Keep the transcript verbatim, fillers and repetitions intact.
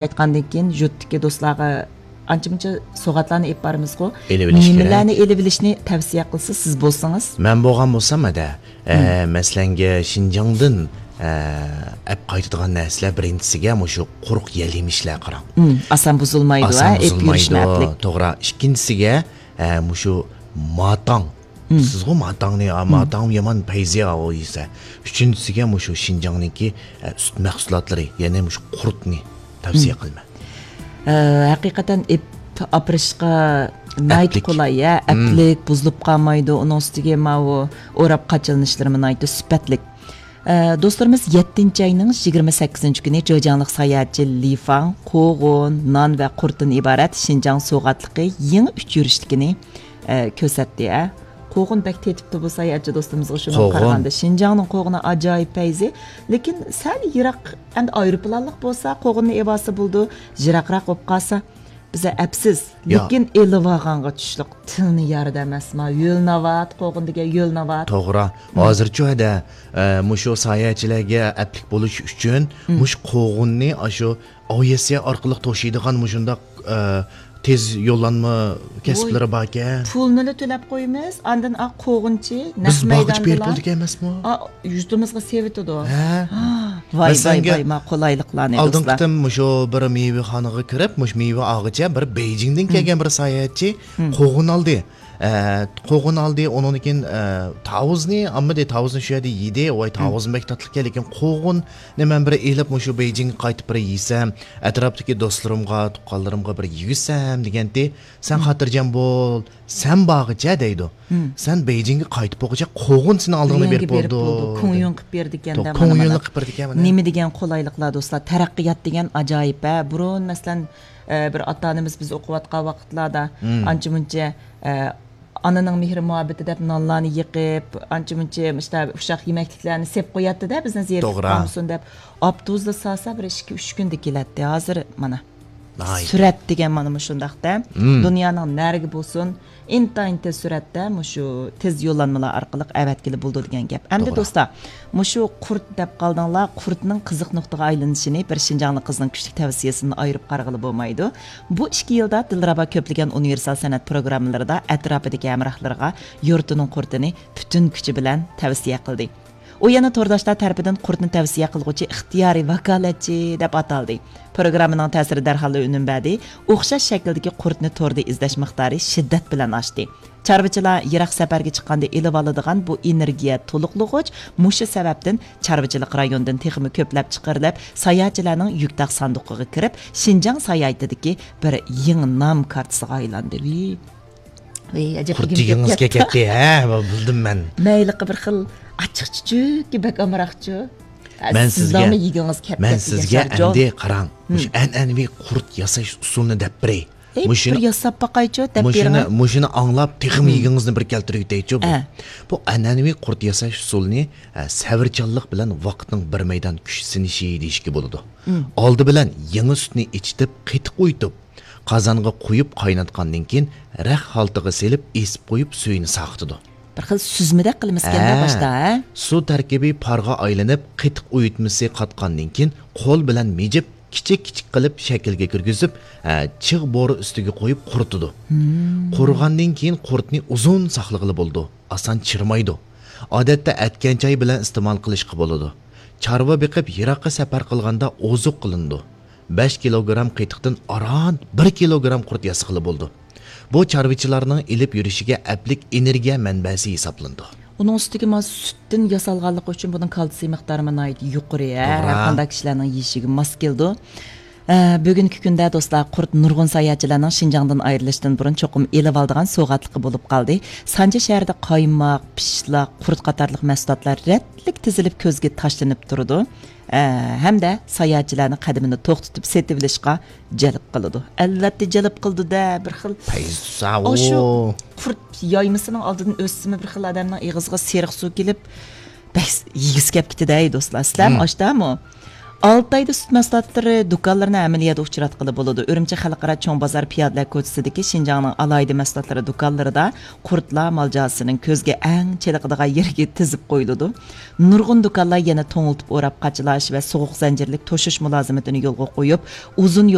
ئېيتقاندىن كېيىن يۇرتتىكى دوستلارغا ئانچە-مۇنچە سوغاتلارنى ئېلىپ بارىمىزغۇ. ئېلىۋېلىش كېرەك. نېمىلەرنى ئېلىۋېلىشنى تەۋسىيە قىلسا سىز بولسىڭىز؟ مەن بولغان بولسام، ھەدە، ئە، مەسىلەنگە شىنجاڭدىن، ئە، ئەپ قايتىدىغان نەرسىلەر بىرىنچىسىگە مۇشۇ قۇرۇق يەل يېمىشلەر قاراڭ. ئۇم، ئاسان بۇزۇلمايدۇ، ئاسان ھە، ئېلىپ يۈرۈشنى بۇزۇلمايدۇ. ئەپلىك. توغرا. ئىككىنچىسىگە، ئە، مۇشۇ ماتاڭ. ئۇم. سىزغۇ ماتاڭنى، ئا، ئۇم. ماتاڭ يامان پەيزى ئاۋۇ يېسە. ئۈچىنچىسىگە مۇشۇ شىنجاڭنىڭكى، ئە، سۈت مەھسۇلاتلىرى، يەنى مۇشۇ قۇرتنى تەۋسىيە ئۇم. قىلىمەن. ئە، ھەقىقەتەن ئېپ ئاپىرىشقا ناھايىتى ئەپلىك. قولاي، ھە، ئۇم. ئەپلىك، بۇزۇلۇپ قالمايدۇ. ئۇنىڭ ئۈستىگە ماۋۇ ئوراپ قاچىلىنىشلىرىمۇ ناھايىتى سۈپەتلىك. ئە، دوستلىرىمىز يەتتىنچى ئاينىڭ يىگىرمە سەككىزىنچى كۈنى جېجياڭلىق ساياھەتچى لى فاڭ قوغۇن، نان ۋە قۇرتتىن ئىبارەت شىنجاڭ سوغاتلىقى يېڭى ئۇچ يۈرۈشلۈكىنى، ئە، كۆرسەتتى، ھە. قوغۇن بەك تېتىپتۇ بۇ ساياھەتچى دوستىمىزغا شۇنىڭغا قوغۇن. قارىغاندا. شىنجاڭنىڭ قوغۇنى ئاجايىپ پەيزى. لېكىن سەل يىراق، ئەمدى ئايروپىلانلىق بولسا قوغۇننى ئېۋالسا بولىدۇ، يىراقراق بولۇپ قالسا بىزە ئەپسىز. يا. لېكىن ئېلىۋالغانغا چۈشلۈك تىلنى يارىدۇ ئەمەسما؟ يۆل ناۋات، قوغۇن دېگەن يۆل ناۋات. توغرا. ھازىرچۇ ھەدە، ئە، مۇشۇ ساياھەتچىلەرگە ئەپلىك بولۇش ئۈچۈن مۇشۇ قوغۇننى ئاشۇ ئاۋىئاتسىيە ئارقىلىق توشۇيدىغان مۇشۇنداق، ئە، تېز يوللانما كەسىپلىرى باركەن. پۇلنىلا تۆلەپ قويىمىز، ئاندىن ئا قوغۇنچى نەق مەيداندىلا. بىز باغقىچە بېرىپ بولىدىكەنمىسمۇ؟ ئا، يۇرتىمىزغا سېلىۋېتىدۇ. ھە. ۋاي، ۋاي، ۋاي، ما قولايلىقلارنى، مەسىلەنگە، دوستلار. ئالدىنقى قېتىم مۇشۇ بىر مېۋىخانىغا كىرىپ، مۇشۇ مېۋە ئالغۇچە بىر بېيجىڭدىن كەلگەن بىر ساياھەتچى قوغۇن ئالدى. ئە، قوغۇن ئالدى، ئۇنىڭدىن كېيىن، ئە، تاۋۇزنى ئالمىدى، تاۋۇزنى شۇ يەردە يېدى. ۋاي، تاۋۇزمۇ بەك تاتلىقكەن، لېكىن قوغۇننى مەن بىر ئېلىپ، مۇشۇ بېيجىڭگە قايتىپ بىر يېسەم، ئەتراپتىكى دوستلىرىمغا، تۇغقانلىرىمغا بىر يېگۈزسەم دېگەنتى. سەن خاتىرجەم بول، سەن بارغىچە دەيدۇ. سەن بېيجىڭگە قايتىپ بولغۇچە قوغۇن سېنىڭ ئالدىڭدا بېرىپ بولىدۇ. كۇڭيۈن قىلىپ بېرىدىكەن دە، مانا، كۇڭيۈنلۇق قىلىپ بېرىدىكەن، مانا. نېمە دېگەن قولايلىقلار، دوستلار. تەرەققىيات دېگەن ئاجايىپ، ھە. بۇرۇن، مەسىلەن، ئە، بىر ئاتا-ئانىمىز بىز ئوقۇۋاتقان ۋاقىتلاردا ئانچە-مۇنچە، ئە، ئانىنىڭ مېھرى-مۇھەببىتى دەپ نانلارنى يېقىپ، ئانچە-مۇنچە مۇشۇنداق ئۇششاق يېمەكلىكلەرنى سېپ قوياتتى-دە، بىزنى زېرىكىپ قالمىسۇن دەپ. ئاپتوبۇستا سالسا بىر ئىككى، ئۈچ كۈندە كېلەتتى. ھازىر، مانا. ناھايىتى. سۈرئەت دېگەن مانا مۇشۇنداق-دە. دۇنيانىڭ نەرىگە بولسۇن، ئىنتايىن تېز سۈرئەتتە مۇشۇ تېز يوللانمىلار ئارقىلىق ئەۋەتكىلى بولىدۇ دېگەن گەپ. ئەمدى، توغرا، دوستلار، مۇشۇ قۇرت دەپ قالدىڭلار، قۇرتنىڭ قىزىق نۇقتىغا ئايلىنىشىنى بىر شىنجاڭلىق قىزنىڭ كۈچلۈك تەۋسىيەسىدىن ئايرىپ قارىغىلى بولمايدۇ. بۇ ئىككى يىلدا دىلرەبا كۆپلىگەن ئۇنىۋېرسال سەنئەت پروگراممىلىرىدا ئەتراپىدىكى ھەمراھلىرىغا يۇرتىنىڭ قۇرتىنى پۈتۈن كۈچى بىلەن تەۋسىيە قىلدى. ئۇ يەنە تورداشلار تەرىپىدىن قۇرتنى تەۋسىيە قىلغۇچى ئىختىيارىي ۋاكالەتچى دەپ ئاتالدى. پروگراممىنىڭ تەسىرى دەرھاللا ئۈنۈم بەردى. ئوخشاش شەكىلدىكى قۇرتنى توردا ئىزدەش مىقدارى شىددەت بىلەن ئاشتى. چارۋىچىلار يىراق سەپەرگە چىققاندا ئېلىۋالىدىغان بۇ ئېنېرگىيە تولۇقلىغۇچ مۇشۇ سەۋەبتىن چارۋىچىلىق رايوندىن تېخىمۇ كۆپلەپ چىقىرىلىپ، ساياھەتچىلەرنىڭ يۈك تاق ساندۇقىغا كىرىپ، شىنجاڭ ساياھىتىدىكى بىر يېڭى نام كارتىسىغا ئايلاندى. ۋىي. ۋىي، ئەجەب قۇرت يېگىڭىز كەتتى، ھە، بىلدىم مەن. مەيلىقى بىر خىل ئاچچىق چۈچۈككە بەك ئامراقچۇ. مەن سىزگە، مەن سىزگە ئەمدى قاراڭ، مۇشۇ ئەنئەنىۋى قۇرت ياساش ئۇسۇلىنى دەپ بېرەي. ئەي، مۇشۇنى، بىر ياساپ باقايچۇ، دەپ بېرىڭە. مۇشۇنى ئاڭلاپ، تېخىمۇ يېگىڭىزنى بىر كەلتۈرۈۋېتەيچۇ بۇ. بۇ ئەنئەنىۋى قۇرت ياساش ئۇسۇلىنى، ئە، سەۋرچانلىق بىلەن ۋاقىتنىڭ بىر مەيدان كۈچ سىنىشى دېيىشكە بولىدۇ. ئالدى بىلەن يېڭى سۈتنى ئېچىتىپ، قېتىق ئۇيۇتۇپ، قازانغا قۇيۇپ قايناتقاندىن كېيىن، رەخ ھالتىغا سېلىپ، ئېسىپ قويۇپ، سۈيىنى ساقىتىدۇ. بىر خىل سۈزمىدەك قىلىمىزكەن-دە باشتا، ھە؟ سۇ تەركىبى پارغا ئايلىنىپ، قېتىق ئۇيۇتمىسى قاتقاندىن كېيىن، قول بىلەن مىجىپ، كىچىك-كىچىك قىلىپ شەكىلگە كىرگۈزۈپ، ھە، چىغ بورا ئۈستىگە قويۇپ قۇرۇتىدۇ. قۇرۇغاندىن كېيىن قۇرتنى ئۇزۇن ساقلىغىلى بولىدۇ، ئاسان چىرىمايدۇ. ئادەتتە ئەتكەن چاي بىلەن ئىستېمال قىلىشقا بولىدۇ. چارۋا بېقىپ، يىراققا سەپەر قىلغاندا ئوزۇق قىلىنىدۇ. بەش كىلوگرام قېتىقتىن ئاران بىر كىلوگرام قۇرت ياسىغىلى بولىدۇ. بۇ چارۋىچىلارنىڭ ئېلىپ يۈرۈشىگە ئەپلىك ئېنېرگىيە مەنبەسى ھېسابلىنىدۇ. ئۇنىڭ ئۈستىگە مانا سۈتتىن ياسالغانلىقى ئۈچۈن بۇنىڭ كالتسىي مىقدارىمۇ ناھايىتى يۇقىرى، ھە؟ توغرا. ھەر قانداق كىشىلەرنىڭ يېيىشىگە ماس كېلىدۇ. ئە، بۈگۈنكى كۈندە دوستلار، قۇرت نۇرغۇن ساياھەتچىلەرنىڭ شىنجاڭدىن ئايرىلىشتىن بۇرۇن چوقۇم ئېلىۋالىدىغان سوغاتلىقى بولۇپ قالدى. سانجى شەھىرىدە قايماق، پىشلاق، قۇرت قاتارلىق مەھسۇلاتلار رەتلىك تىزىلىپ كۆزگە تاشلىنىپ تۇرىدۇ. ئە، ھەمدە ساياھەتچىلەرنىڭ قەدىمىنى توختىتىپ سېتىۋېلىشقا جەلپ قىلىدۇ. ئەلۋەتتە جەلپ قىلىدۇ-دە، بىر خىل. پەيزا، ئاشۇ ئۇ قۇرت يايمىسىنىڭ ئالدىدىن ئۆتسىمۇ بىر خىل ئادەمنىڭ ئېغىزىغا سېرىق سۇ كېلىپ، بەك يېگۈسى كەپ كېتىدۇ-ھەي دوستلار. سىلەرمۇ ئاشتامۇ؟ ئالتايدا سۈت مەھسۇلاتلىرى دۇكانلىرىنى ھەممىلا يەردە ئۇچراتقىلى بولىدۇ. ئۈرۈمچى خەلقئارا چوڭ بازار پىيادىلەر كوچىسىدىكى شىنجاڭنىڭ ئالاھىدە مەھسۇلاتلىرى دۇكانلىرىدا قۇرتلار مال جازىسىنىڭ كۆزگە ئەڭ چېلىقىدىغان يېرىگە تىزىپ قويۇلىدۇ. نۇرغۇن دۇكانلار يەنە توڭلىتىپ ئوراپ قاچىلاش ۋە سوغۇق زەنجىرلىك توشۇش مۇلازىمىتىنى يولغا قويۇپ، ئۇزۇن